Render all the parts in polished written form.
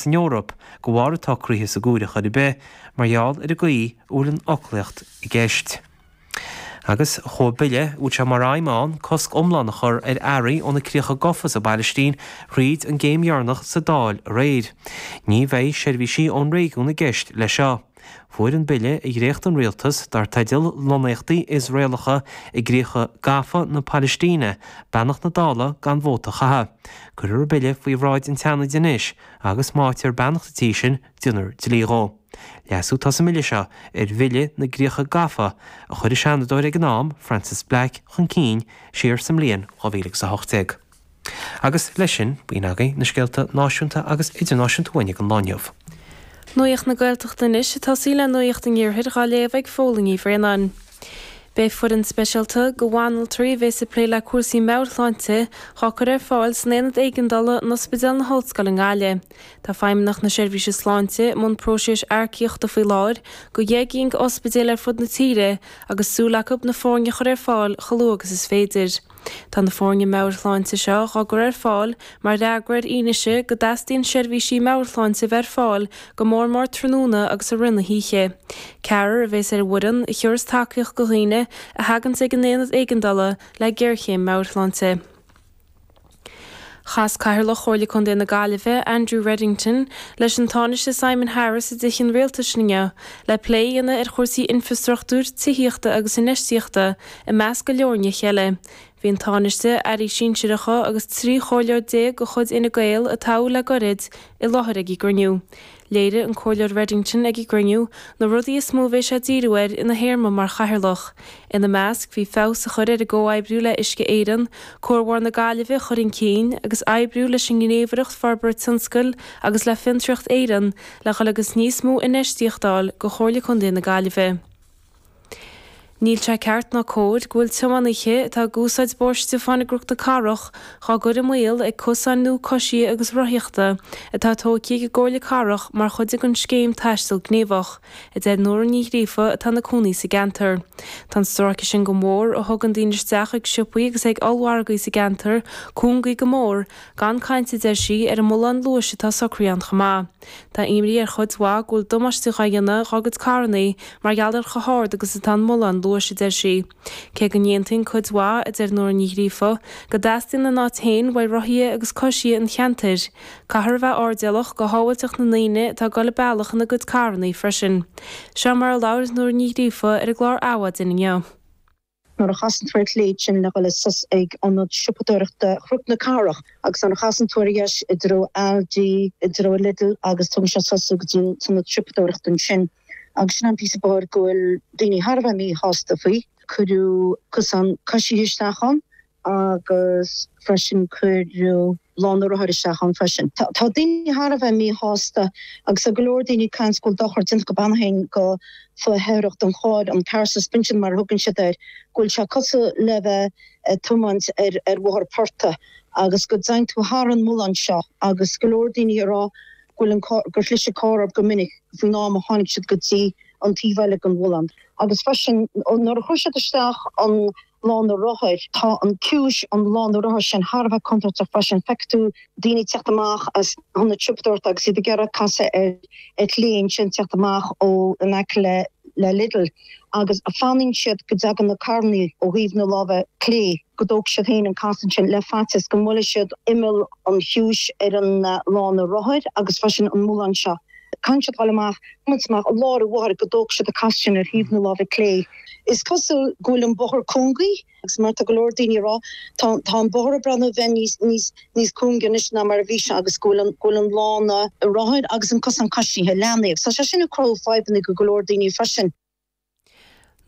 San Eoraip de bharr an tsocraithe sa gCóiré chor ar bith mar gheall ar an gcaoi a bhfuil an fhoclaíocht i gceist. Agus chuaigh bille a bhfuil sé mar aidhm ann cosc iomlán a chur ar earraí ó na críocha gafa sa bPailistín thríd an gcéim dheireanach sa Dáil aréir. Ní bheidh seirbhísí ón réigiún i gceist leis seo. Fuair an bille a dhréacht an rialtas, dar teideal Lonnaíochtaí Iosraelacha i gCríocha Gafa na Palaistíne, beannacht na Dála gan vóta a chaitheamh. Cuirfear an bille faoi bhráid an tSeanaid anois agus má fhaightear beannacht an tí sin, déanfar dlí dhó. Leasú atá sa mbille seo ar Bhille na gCríocha Gafa a chuir an Seanadóir ag an am, Frances Black, chun cinn siar sa mbliain 2018. Agus leis sin, b'in agaibh na scéalta náisiúnta agus idirnáisiúnta uainn ag an lá inniu. Nuacht na Gaeltachta anois ag tosaí le Nuacht an Iarthair dhá léamh ag Fódhla Ní Bhraonáin. Beidh foireann speisialta de bhanaltraí a bhéas ag plé le cúrsaí meabhairshláinte dhá cur ar fáil san Aonad Éigeandála in Ospidéal na hOllscoile i nGaillimh. Tá Feidhmeannacht na Seirbhíse Sláinte i mbun próiseas earcaíochta faoi láthair do dheich gcinn d'ospidéil ar fud na tíre agus súil acu na foirne a chur ar fáil chomh luath agus is féidir. Tá na foirne meabhairshláinte seo dhá gcur ar fáil mar fhreagra ar fhianaise go dteastaíonn seirbhísí meabhairshláinte a bheith ar fáil go mór mór tráthnóna agus i rith na hoíche. Ceathrar a bhéas ar an bhfoireann, a thiúrfas tacaíocht do dhaoine a thaganns ag an aonad éigeandála le géarchéim meabhairshláinte. Chas Cathaoirleach Chomhairle Contae na Gaillimhe, Andrew Reddington, leis an Tánaiste Simon Harris i dTithe an Rialtais inniu le plé a dhéanamh ar chúrsaí infreastruchtúir, tithíochta agus infheistíochta, i measc go leor nithe eile. Bhí an Tánaiste, airí sinsearacha agus 13 chomhairleoir de chuid Fhine Gael a toghadh le goirid, i láthair ag an gcruinniú. Léirigh an Comhairleoir Reddington ag an gcruinniú na rudaí is mó a bheidh sé ag díriú air ina théarma mar chathaoirleach. Ina measc bhí feabhas a chur ar an gcomhoibriú le Uisce Éireann, Comhar Bharr na Gaillimhe a chur chun cinn agus oibriú leis an nGníomhaireacht Forbartha Tionscail agus le Fiontraíocht Éireann le dhul agus níos mó infheistíocht a fháil go Chomhairle Contae na Gaillimhe. Níl sé ceart ná cóir go bhfuil tiománaithe atá ag úsáid Bóthar Stiofáin i gCnoc na Cathrach dhá gcur i mbaol ag cosáin nua coisithe agus rothaíochta atá tógtha ag an gComhairle Cathrach mar chuid den scéim Taisteal Gníomhach, a deir Nóra Ní Ghríofa atá ina cónaí sa gceantar. Tá an stráice sin den bhóthar, a thugann daoine isteach ag siopaí agus ag ollmhargaí sa gceantar, cúngaithe go mór, gan caint, a deir sí, ar an mbullán luais atá socraithe ann chomh maith. Tá imní ar chuid mhaith go bhfuil damáiste dhá dhéanamh dhá gcuid carrannaí mar gheall ar chomh hard agus atá an mullán luais, a deir sí. Cé go n-aontaíonn cuid mhaith, a deir Nóra Ní Ghríofa, go dteastaíonn an áit féin uaidh rothaithe agus coisithe an cheantair, caithfear a bheith airdeallach go shábháilteacht na ndaoine atá ag dul an bealach ina gcuid carrannaí freisin. Seo mar a labhair Nóra Ní Ghríofa ar an gclár Adhmhaidin inniu. Nuair a chasann tú ar chlé ansin le dhul suas ag ionad siopadóireachta Chnoc na Cathrach agus nuair a chasann tú ar dheis i dtreo Aldi, i dtreo Lidl agus tugann sé suas go dtí an t-ionad siopadóireachta ansin. Agus sin an píosa bóthair go bhfuil daoine thar a bheith míshásta faoi. Cuireadh cosán coisithe isteach ann agus freisin cuireadh lána rothair isteach ann freisin. Tá daoine thar a bheith míshásta agus tá go leor daoine ag caint go bhfuil dochar déanta acu cheana féin go fo-fheithreach don charr, an car suspension mar a thugann siad air, go bhfuil sé cosúil le bheith ag tiomáint ar ar bhóthar portaigh agus go dtéann tú thar an mbullán seo agus go leor daoine ag rá go bhfuil an carr, gur chlis an carr orthu go minic faoin am a tháinig siad go dtí an taobh eile den bhullán. Agus freisin nuair a chuir siad isteach an lána rothair. Tá an ciumhais an lána rothair sin thar a bheith contúirteach freisin. Feicfidh tú daoine ag teacht amach as ionad siopadóireachta agus iad ag iarraidh casadh ar ar chlé ansin, teacht amach ó in aice le le Lidl agus fanann siad go dtagann na carrannaí ó thaobh na láimhe clé, go dtógfaidh siad féin an casadh ansin le faitíos go mbuailfidh siad imeall an chiumhais ar an lána rothair agus freisin an mullán seo. Caithfidh siad dul amach, tiomáint amach i lár an bhóthair go dtógfaidh siad an casadh sin ar thaobh na láimhe clé. Is cosúil go bhfuil an bóthar cúngaithe agus mar tá go leor daoine ag rá, tá, tá an bóthar ag breathnú a bheith níos, níos, níos cúinge anois ná mar a bhí sé agus go bhfuil an, go bhfuil an lána rothair agus an cosán coisithe leathnaithe agus tá sé sin ag cruthú fadhbanna go go leor daoine freisin.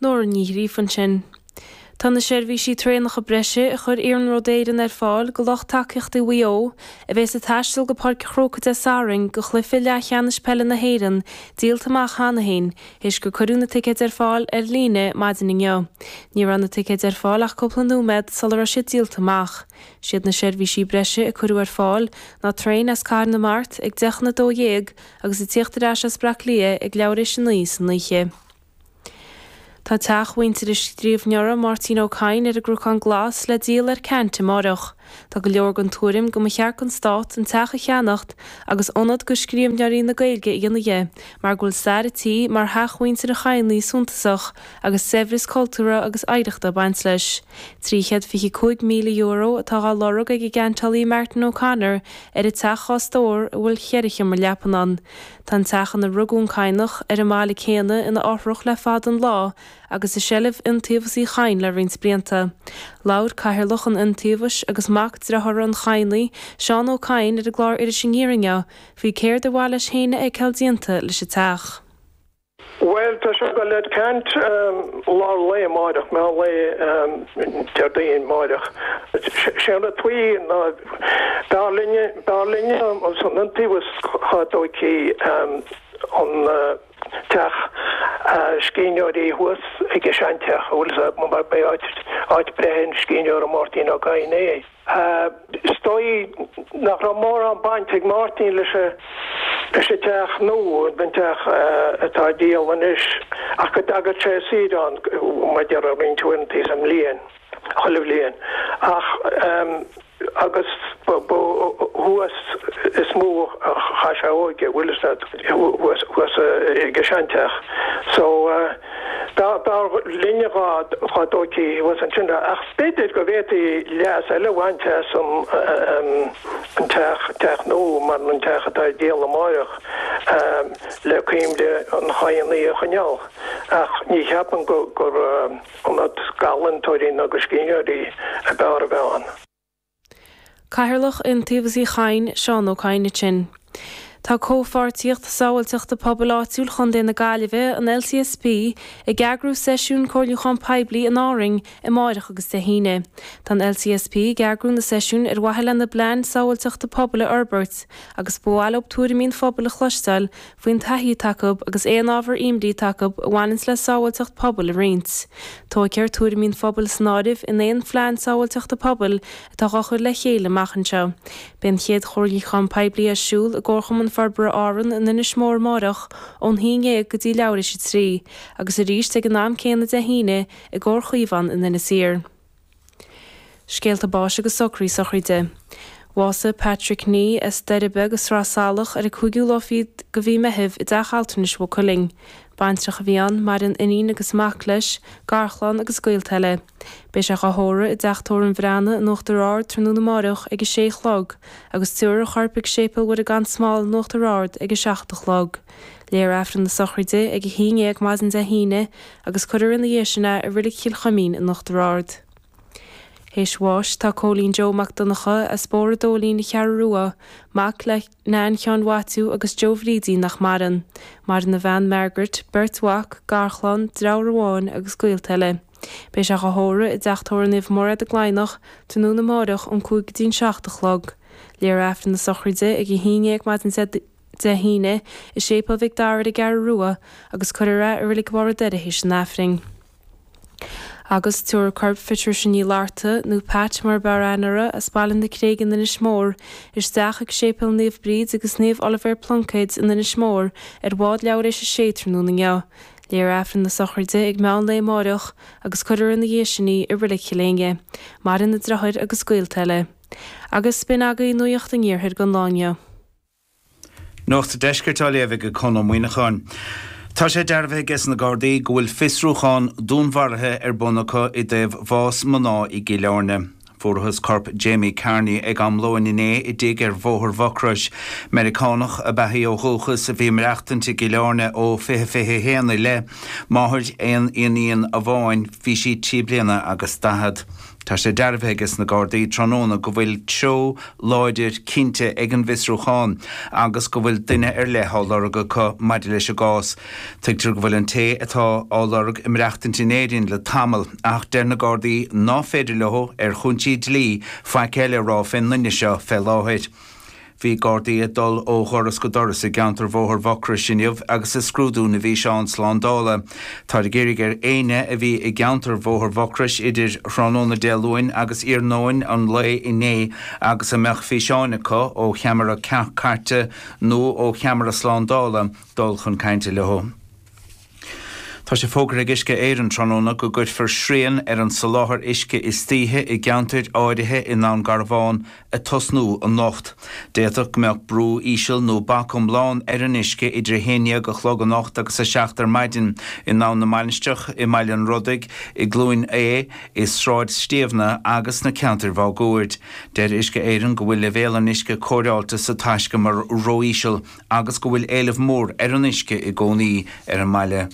Nóra Ní Ghríofa ansin. Tá na seirbhísí traenacha breise a chuir Iarnród Éireann ar fáil go lucht tacaíochta Mhaigh Eo a bheas ag taisteal go Páirc an Chrócaigh Dé Sathairn go chluiche leathcheannais peile na hÉireann díolta amach cheana féin théis gur cuireadh na ticéid ar fáil ar líne maidin inniu. Ní raibh na ticéid ar fáil ach cúpla nóiméad sula raibh siad díolta amach. Siad na seirbhísí breise a cuireadh ar fáil ná traein as Cathair na Mart ag 11:50 agus ag tíocht ar ais as Bleá Cliath ag leathuair théis 9 san oíche. Tá teach mhuintir an scríbhneora Máirtín Ó Cadhain ar an gCnocán Glas le díol ar ceant amáireach. Tá go leor den tuairim go mba cheart don Stát an teach a cheannacht agus ionad do scríbhneoirí na Gaeilge a dhéanamh dhe mar go bhfuil stair an tí mar theach mhuintir an Chadhnaigh suntasach agus saibhreas cultúrtha agus oidhreachta ag baint leis. €325,000 atá á lorg ag an gceantálaí Martin O'Connor ar an teach dhá stór a bhfuil cheithre sheomra leapan ann. Tá an teach ina rugadh an Cadhnach ar an mbaile céanna ina fhothrach le fada an lá agus i seilbh Iontaobhas Uí Chadhain le roinnt blianta. Labhair Cathaoirleach an Iontaobhais agus mac dearthára an Chadhnaigh, Seán Ó Cadhain ar an gclár Iris Aniar inniu faoi céard ar mhaith leis féin a fheiceáil déanta leis an teach. Bhuel, tá sé ag dul ar ceant lár lae amáireach, meán lae Déardaoin amáireach. Sé an rud faoi ná b'fhearr linne, b'fhearr linne san Iontaobhas dhá dtóigfí an teach scríbhneoirí thuas ag an seanteach, an bhfuil fhios agat, mar b'é áit, áit breithe an scríbhneora Máirtín Ó Cadhain é. Is dóigh nach raibh mórán baint ag Máirtín leis an leis an teach nua, an teach atá á dhíol anois, ach go dtagadh sé ar saoire ann, mar a déarfá, roinnt uaireanta sa mbliain, chuile bhliain. Ach agus ba thuas is mó a chaith sé a óige, bhfuil fhios agat, thuas thuas ag an seanteach. So. B'fhearr linne dhá dtóigfí thuas ansin é, ach b'fhéidir go bhféadfaí leas eile a bhaint as an teach, teach nua, mar an teach atá ar díol amáireach, le cuimhne an Chadhnaigh a choinneáil. Ach ní cheapaim gur ionad d'ealaíontóirí ná do scríbhneoirí ab fhearr a bheith ann. Cathaoirleach Iontaobhas Uí Chadhain, Seán Ó Cadhain ansin. Tá Comhpháirtíocht Sábháilteachta Pobail Áitiúil Chontae na Gaillimhe, an LCSP, ag eagrú seisiún comhairliúchán poiblí in Árainn amáireach agus Dé hAoine. Tá an LCSP ag eagrú na seisiún ar mhaithe lena bplean sábháilteachta pobail a fhorbairt agus ba mhaith leo tuairimí an phobail a chloisteáil faoin taithí atá acu agus aon ábhar imní atá acu a bhaineanns le sábháilteacht pobail a roinnt. Tógfar tuairimí an phobail san áireamh in aon phlean sábháilteachta pobail atá á chur le chéile amach anseo. Beidh an chéad chomhairliúchán poiblí ar siúl i gComharchumann Forbartha Árann in Inis Mór amáireach ón haon dhéag go dtí leathuair théis a 3, agus arís ag an am céanna Dé hAoine i gComhar Chaomhán in Inis Oírr. Scéalta báis agus socruithe sochraide. Bhásaigh Patrick Nee as Doire Beag i Sraith Salach ar an cúigiú lá fichead de mhí Meithimh i dteach altranais Mhaigh Cuilinn. Baintreach a bhí ann, maireann iníon agus mac leis, garchlann agus gaolta eile. Beidh sé dhá thórramh i dteach tórraimh an Bhreathnaigh in Uachtar Ard tráthnóna amáireach ag a sé a chlog agus tabharfar a chorp ag Séipéal Mhuire gan Smál in Uachtar Ard ag a 7 a chlog. Léifear Aifreann na sochraide ag a haon dhéag maidin Dé hAoine agus cuirfear ina dhiaidh sin é i Reilig Chill Chuimín in Uachtar Ard. Théis bháis tá Cóilín Joe Mac Donncha as Bóthar an Dóilín an Cheathrú Rua, mac le Nan Sheáin Mhaitiú agus Joe Bhrídín nach maireann. Maireann a bhean Margaret, beirt mhac, garchlann, deartháir amháin agus gaolta eile. Beidh sé dhá thórramh i dTeach Tórraimh Naomh Mairéad i gCladhnach tráthnóna amáireach ón 5 go dtí an 7 a chlog. Léifear Aifreann na sochraide ag 11 maidin Dé hAoine i Séipéal Mhic Dara ar an gCeathrú Rua agus cuirfear é i Reilig Bharr an Doire théis an Aifrinn. Agus tabharfar corp Phatricia Ní Fhlatharta, nó Pat mar ab fhearr aithne uirthi, as Baile na Creige in Inis Mór, isteach ag Séipéal Naomh Bríd agus Naomh Oilibhéar Pluincéid in Inis Mór ar bhád leathuair théis a sé tráthnóna inniu. Léifear Aifreann na sochraide ag meán lae amáireach agus cuirfear ina dhiaidh sin í i Reilig Chill Éinne. Maireann a deartháir agus gaolta eile. Agus b'in agaibh Nuacht an Iarthair don lá inniu. Nuacht an Deiscirt á léamh ag Conn Ó Muíneacháin. Tá sé dearbhaithe aige sna Gardaí go bhfuil fiosrúchán dúnmharaithe ar bun acu i dtaobh bhás mná i gCill Airne. Fuarathas corp Jamie Carney ag am lóin inné i dtigh ar Bhóthar Mhucrois. Meiriceánach ab ea í ó dhúchas a bhí ag maireachtaint i gCill Airne ó 2021 i leith. Máthair aon iníon amháin, bhí sí trí bliana agus daichead. Tá sé dearbhaithe aige sna Gardaí tráthnóna go bhfuil treo láidir cinnte ag an bhfiosrúchán agus go bhfuil duine ar leith á lorg acu maidir leis an gcás. Tuigtear go bhfuil an té atá á lorg ag maireachtaint in Éirinn le tamall ach deir na Gardaí ná féidir leo, ar chúinsí dlí, faic eile a rá fén nduine seo fé láthair. Bhí Gardaí ag dul ó dhoras go doras i gceantar Bhóthar Mhucrois inniu agus ag scrúdú na bhfíseán slándála. Táthar ag iarraidh ar éinne a bhí i gceantar Bhóthar Mhucrois idir thráthnóna Dé Luain agus iarnóin an lae inné agus a mbeadh físeáin acu ó cheamara cairte nó ó cheamara slándála dul chun cainte leo. Tá sé fógartha ag Uisce Éireann tráthnóna go gcuirfear srian ar an soláthar uisce istoíche i gceantair áirithe i nDún Garbhán ag tosnú anocht. D'fhéadfadh go mbeadh brú íseal nó bac iomlán ar an uisce idir 11 a chlog anocht agus 7 ar maidin i nDamhan na Mainistreach, i mBaile an Rodaigh, i gCluain Aodha, i Sráid Stiabhna agus sna ceantair mháguaird. Deir Uisce Éireann go bhfuil leibhéal an uisce cóireáilte sa taiscumar ró-íseal. agus go bhfuil éileamh mór ar an uisce i gcónaí ar an mbaile.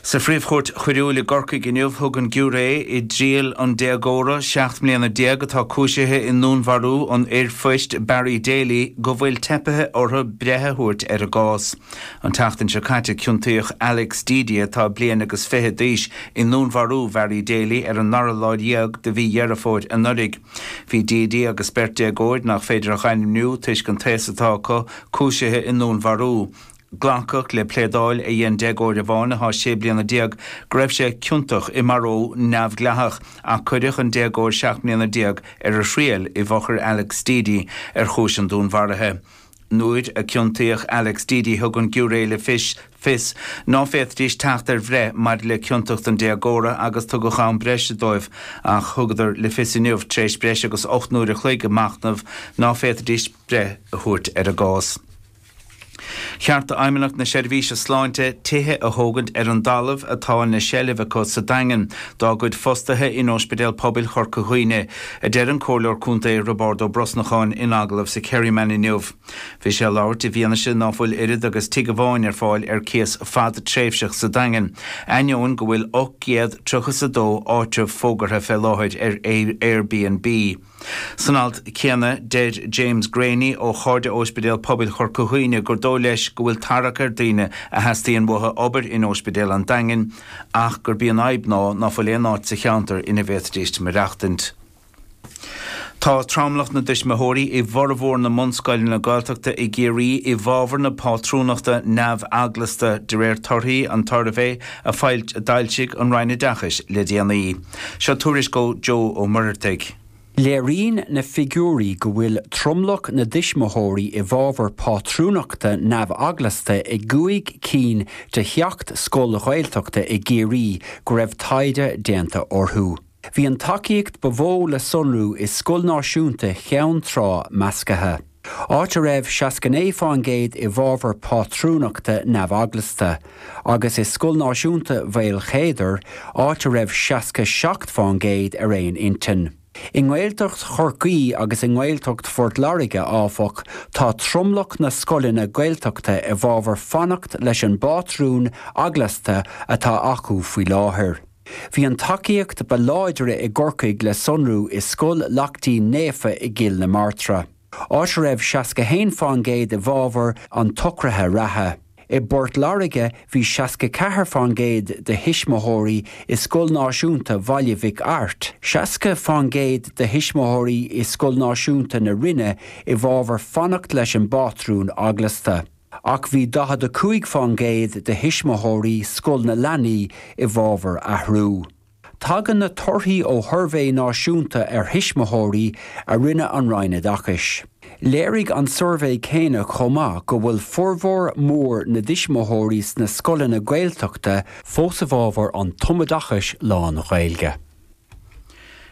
Sa Phríomh-Chúirt Choiriúil i gCorcaigh inniu, thug an giúiré i dtriail an déagóra 17 mbliana atá cúisithe i ndúnmharú an fhir phoist Barry Daly go bhfuil teipithe orthu breith a thabhairt ar an gcás. An tseachtain seo caite ciontaíodh Alex Deady, atá bliain agus fiche d'aois, i ndúnmharú Bharry Daly ar an dara lá dhéag de mhí Dheireadh Fómhair anuraidh. Bhí Deady agus beirt déagóir nach féidir a dh'ainmniú toisc an t-aos atá acu, cúisithe i ndúnmharú. Glacadh le pléadáil a dhein déagóir amháin atá 16 bliana go raibh sé ciontach i marú neamhdhleathach ach cuireadh an déagóir 17 mbliana ar a thriail i bhfochair Alex Deady ar chúis an dúnmharaithe. Nuair a ciontaíodh Alex Deady thug an giúiré le fios ná féadfaidís teacht ar bhreith maidir le ciontacht an déagóra agus tugadh am breise dóibh ach thugadar le fios inniu tar éis breis agus 8 n-uair a chloig ag machnamh ná féadfaidís breith a thabhairt ar an gcás. Cheart d'Fheidhmeannacht na Seirbhíse Sláinte tithe a thógaint ar an dtalamh atá ina seilbh acu sa Daingean dá gcuid fostaithe in Ospidéal Pobail Chorca Dhuibhne, a deir an Comhairleoir Contae Roibeárd Ó Brosnacháin in agallamh sa Kerryman inniu. Bhí sé ag labhairt i bhfianaise ná fuil oiread agus tigh amháin ar fáil ar cíos fadtréimhseach sa Daingean, ainneoin go bhfuil 832 áitreabh fógartha fé láthair ar Airbnb. San alt céanna, deir James Greaney ó Chairde Óispidéal Pobail Chorca Dhuibhne gur dóigh leis go bhfuil tarrac ar daoine a theastaíonn uathu obair in Óispidéal an Daingin ach gurb í an fhadhb ná ná fuil aon áit sa cheantar ina bhféadfaidís maireachtaint. Tá tromlach na dtuismitheoirí i bhformhór na mbunscoileanna Gaeltachta i gCiarraí i bhfabhar na pátrúnachta neamh-eaglasta, de réir torthaí an tsuirbhé a d'fhoilsigh an Roinn Oideachais le déanaí. Seo tuairisc ó Joe Ó Muircheartaigh. Léiríonn na figiúirí go bhfuil tromlach na dtuismitheoirí i bhfabhar pátrúnachta neamh-eaglasta i gcúig cinn de sheacht scoil Ghaeltachta i gCiarraí go raibh taighde déanta orthu. Bhí an tacaíocht ba mhó le sonrú i Scoil Náisiúnta Cheann Trá Measctha. Áit a raibh 69% i bhfabhar pátrúnachta neamh-eaglasta, agus i Scoil Náisiúnta Mhaolchéadair, áit a raibh 67% ar aon intinn. I nGaeltacht Chorcaí agus i nGaeltacht Phort Láirge, áfach, tá tromlach na scoileanna Gaeltachta i bhfabhar fanacht leis an bpátrún eaglasta atá acu faoi láthair. Bhí an tacaíocht ba láidre i gCorcaigh le sonrú i Scoil Lachtaín Naofa i gCill na Martra, áit a raibh 61% i bhfabhar an tsocraithe reatha. I bPort Láirge bhí 64% de thuismitheoirí i Scoil Náisiúnta Bhaile Mhic Airt, 60% de thuismitheoirí i Scoil Náisiúnta na Rinne i bhfabhar fanacht leis an bpátrún eaglasta. Ach bhí 45% de thuismitheoirí Scoil na Leanaí i bhfabhar athrú. Tagann na torthaí ó shuirbhé náisiúnta ar thuismitheoirí a rinne an Roinn Oideachais. Léirigh an suirbhé céanna chomh maith go bhfuil formhór mór na dtuismitheoirí sna scoileanna Gaeltachta fós i bhfabhar an tumoideachais lán-Ghaeilge.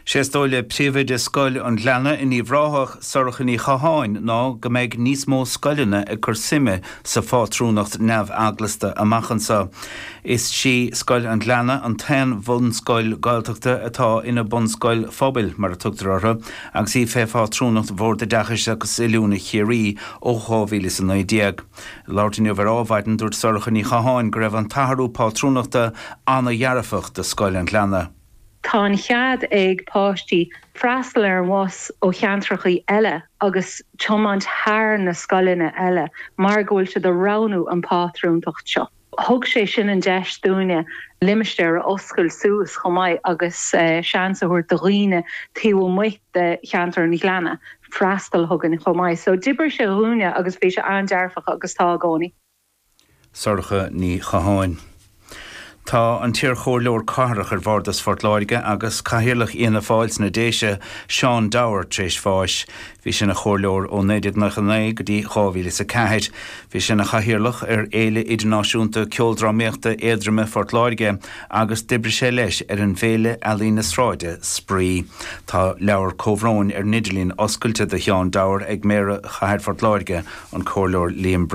Sé is dóigh le príomhoide Scoil an Ghleanna in Uíbh Ráthach, Sorcha Ní Chatháin, ná go mbeidh níos mó scoileanna ag cur suime sa phátrúnacht neamh-eaglasta amach anseo. Is í Scoil an Ghleanna an t-aon bhunscoil Gaeltachta atá ina bunscoil phobail, mar a tugtar orthu, agus í fé phátrúnacht Bhord Oideachais agus Oiliúna Chiarraí ó 2019. Ag labhairt inniu ar Ádhmhaidin, dúirt Sorcha Ní Chatháin go raibh an t-athrú pátrúnachta ana-dhearfach do Scoil an Ghleanna. Tá an chead ag páistí freastal ar an bhus ó cheantrachaí eile agus tiomáint thar na scoileanna eile mar go bhfuil siad ag roghnú an pátrúntacht seo. Thug sé sin an deis dúinne limistéar a oscailt suas chomh maith agus seans a thabhairt do dhaoine taobh amuigh de cheantar an Ghleanna freastal chugainn chomh maith. So d'oibrigh sé dhúinne agus bhí sé an-dearfach agus tá i gcónaí. Sorcha Ní Chatháin. Tá an t-iarchomhairleoir cathrach ar Bhardas Phort Láirge agus Cathaoirleach Fhianna Fáil sna Déise, Seán Dwyer, tar éis bháis. Bhí sé ina chomhairleoir ó 1999 go dtí 2004. Bhí sé ina chathaoirleach ar Fhéile Idirnáisiúnta Ceoldrámaíochta Éadroime Phort Láirge agus d'oibrigh sé leis ar an bhféile ealaíne sráide, Spraoi. Tá leabhar comhbhróin ar an idirlíon oscailte do Sheán Dwyer ag Méara Chathair Phort Láirge, an Comhairleoir Liam Bradley.